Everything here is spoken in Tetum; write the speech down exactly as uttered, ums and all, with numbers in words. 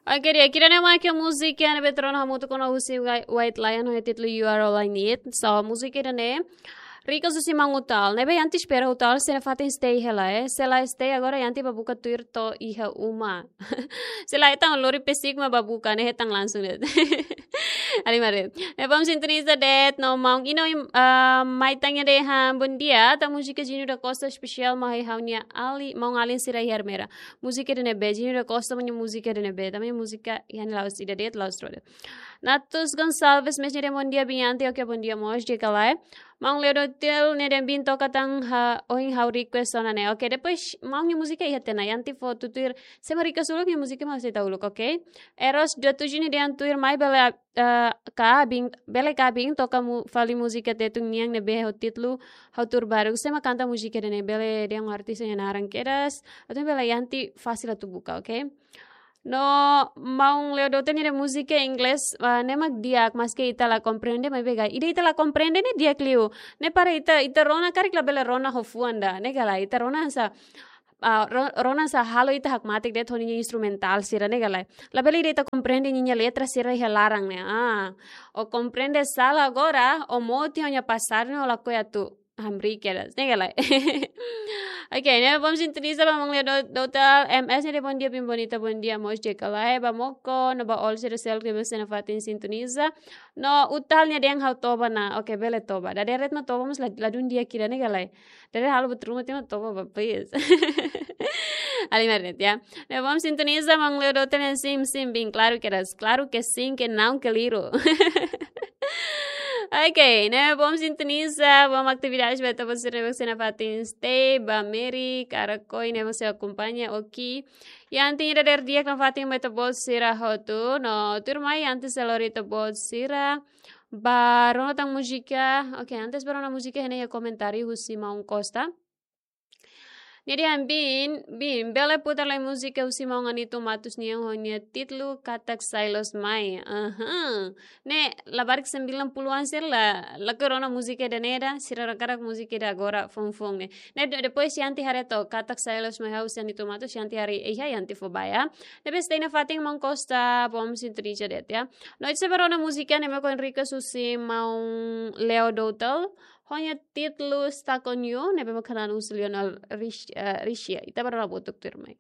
Oke, di'ak, ida-ne'e mak múzika ne'ebé rona hamutuk ona husi Whi-, White Lion ho títulu You Are All I Need. So, múzika ida-ne'e request husi maun Utal. Ne'ebé Yanti espera Utal sei nafatin stay hela, eh. Se la stay agora Yanti bá buka tuir to'o iha uma. Se la hetan lori pesik mak bá buka, ne'e hetan langsung de'it. Halimar de'it. Ne'e bom sintoniza de'it no maun Ino, ah, mai tanya dehan bom dia, atu múzika Júnior da Costa espesiál mai ha'u-nia alin, maun-alin sira iha Ermera. Múzika ida-ne'ebé, Júnior da Costa mak múzika ida-ne'ebé. Tanba múzika iha ne'e la'ós ida de'it, la'ós rua de'it. Natus Gonçalves, mes nia dehan bom dia, Bianti, oke, bom dia mós, di'ak ka lae. Maun Leo Dotel nia dehan bin toka tan ha, ohin ha'u request ona ne'e. Oke, depois maun nia múzika iha tiha ona, Yanti fó tutuir, se mak request uluk nia múzika mak sei tau uluk, oke? Eros dua tujuh nia dehan tuirmai bele, eh, ka bin, bele ka bin toka mu-, fali múzika Tetun nian ne'ebé ho títulu Ha'u Tuur Baruk. Se mak kanta múzika ida-ne'e, bele dehan artis nia naran kedas. Atu bele Yanti fasil atu buka, oke? No maun Leo Dotel nia dehan múzika inglés, ah, ne'e mak di'ak, maske ita la komprende, maibé gai. Ida ita la komprende ne'e di'ak liu. Ne'e para ita, ita rona karik labele rona ho fuan ida. Ne'e ka lae, ita rona hanesan, ah, ro-, rona hanesan halo ita hakmatek de'it ho ninia instrumentál sira, ne'e ka lae. Labele ita komprende ninia letra sira iha laran ne'e. Ah, ó komprende sala agora, ó moti ho nia pasar ne'e ó lakohi atu hamriik kedas, ne'e ka lae. Oke, ne'e bom sintoniza ba maun Leo Do-, Dotel, M S nia dehan bom dia, bin bonita, bom dia mós, di'ak ka lae, ba Moko, no ba Ol sira seluk ne'ebé sei nafatin sintoniza. No Utal nia dehan ha'u toba ona, oke, bele toba. Dadeer de'it mak toba mós la, ladún di'ak ida, ne'e ka lae. Dadeer halo buat ruma tiha mak toba ba, please. Halimar de'it, ya. Ne'e bom sintoniza, maun Leo Dotel nia sim, sim, bin, klaru kedas, klaru ke sim, ke naun, ke liru. Oke, ne'e bom sintoniza, bom atividade ba ita-boot sira ne'ebé sei nafatin stay, ba Mary, Karakoi, ne'ebé sei akompaña, oke. Yanti nia dadeer di'ak nafatin ba ita-boot sira hotu, no tuirmai Yanti sei lori ita-boot sira ba rona tan múzika. Oke, antes ba rona múzika, iha ne'e iha komentáriu husi maun Costa. Nia dehan bin, bin, bele putar lai múzika husi maun Anito Matos nian ho nia títulu Katak Sai Loos Mai. Aha. Ne'e labarik sembilan puluhan sira la, lakohi rona múzika ida-ne'e ida, sira hakarak múzika ida agora foun-foun ne'e. Ne'e de-, depois Yanti haree to'ok Katak Sai Loos Mai husi Anito Matos, Yanti haree iha, Yanti fó ba ya. Ne'ebé stay nafatin maun Costa, bom sintoniza de'it, ya. No ita sei ba rona múzika ne'ebé mak request husi maun Leo Dotel, ho nia títulu Stuck on You, ne'ebé mak kanta husi Lionel Rich-, eh, Richie. Ita ba rona hamutuk tuirmai.